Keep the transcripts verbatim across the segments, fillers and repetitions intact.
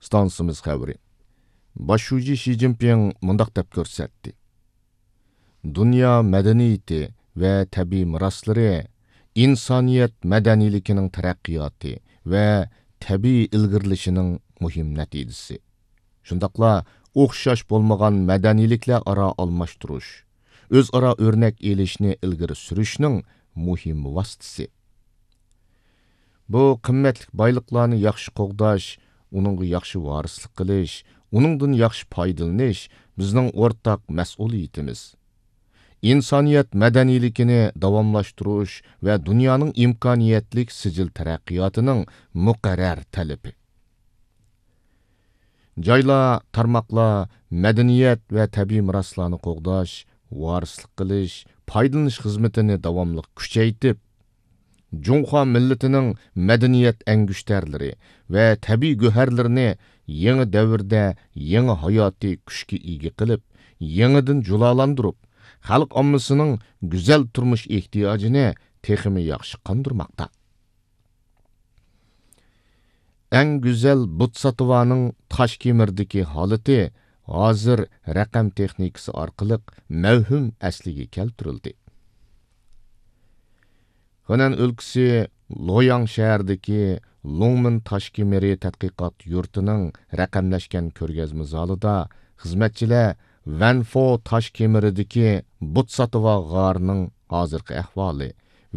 ئىستانسىمىز خەۋىرى. باش شۇجى شى جىنپىڭ مۇنداق دەپ كۆرسەتتى: دۇنيا مەدەنىيىتى ۋە تەبىئىي مىراسلىرى ئىنسانىيەت مەدەنىيلىكىنىڭ تەرەققىياتى ۋە تەبىئىي ئىلگىرىلىشىنىڭ مۇھىم نەتىجىسى. شۇنداقلا ئوخشاش بولمىغان مەدەنىيلىكلەر ئارا ئالماشتۇرۇش، ئۆزئارا ئۆرنەك ئېلىشنى ئىلگىرى سۈرۈشنىڭ مۇھىم ۋاسىتىسى. بۇ قىممەتلىك بايلىقلارنى ياخشى قوغداش، ئۇنىڭغا ياخشى ۋارىسلىق قىلىش، ئۇنىڭدىن ياخشى پايدىلىنىش بىزنىڭ ئورتاق مەسئۇلىيىتىمىز. ئىنسانىيەت مەدەنىيلىكىنى داۋاملاشتۇرۇش ۋە دۇنيانىڭ ئىمكانىيەتلىك سىجىل تەرەققىياتىنىڭ مۇقەررەر تەلىپى. جايلار، تارماقلار مەدەنىيەت ۋە تەبىئىي مىراسلارنى قوغداش، ۋارىسلىق قىلىش، پايدىلىنىش خىزمىتىنى داۋاملىق كۈچەيتىپ، جۇڭخۇا مىللىتىنىڭ مەدەنىيەت ئەڭگۈشتەرلىرى ۋە تەبىئىي گۆھەرلىرىنى يېڭى دەۋردە يېڭى ھاياتىي كۈچكە ئىگە قىلىپ، يېڭىدىن جۇلالاندۇرۇپ، خەلق ئاممىسىنىڭ گۈزەل تۇرمۇش ئېھتىياجىنى تېخىمۇ ياخشى قاندۇرماقتا. ئەڭ گۈزەل بوتساتىۋانىڭ تاشكېمىردىكى ھالىتى ھازىر رەقەم تېخنىكىسى ئارقىلىق مەۋھۇم ئەسلىگە كەلتۈرۈلدى. خېنەن ئۆلكىسى لوياڭ شەھىرىدىكى لۇڭمىن تاشكېمىرى تەتقىقات يۇرتىنىڭ رەقەملەشكەن كۆرگەزمە زالىدا خىزمەتچىلەر ۋەنفو تاشكېمىرىدىكى بوتساتىۋا غارىنىڭ ھازىرقى ئەھۋالى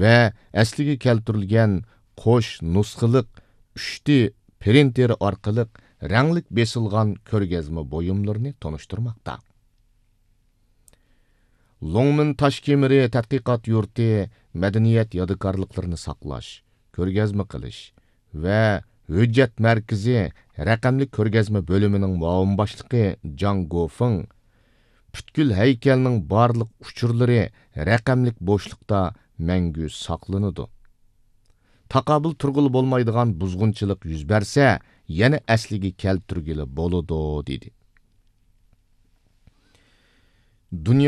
ۋە ئەسلىگە كەلتۈرۈلگەن قوش نۇسخىلىق ئۈچ دى پرىنتېرى ئارقىلىق رەڭلىك بېسىلغان كۆرگەزمە بۇيۇملىرىنى تونۇشتۇرماقتا. لوڭمىن تاشكېمىرى تەتقىقات يۇرتى مەدەنىيەت يادىكارلىقلىرىنى ساقلاش، كۆرگەزمە قىلىش ۋە ھۆججەت مەركىزى رەقەملىك كۆرگەزمە بۆلۈمىنىڭ مۇئاۋىن باشلىقى جاڭ گوفېڭ، پۈتكۈل ھەيكەلنىڭ بارلىق ئۇچۇرلىرى رەقەملىك بوشلۇقتا مەڭگۈ ساقلىنىدۇ. تاقابىل تۇرغىلى بولمايدىغان بۇزغۇنچىلىق يۈز بەرسە، يەنە ئەسلىگە كەلتۈرگىلى بولىدۇ، دېدى. دۇنيا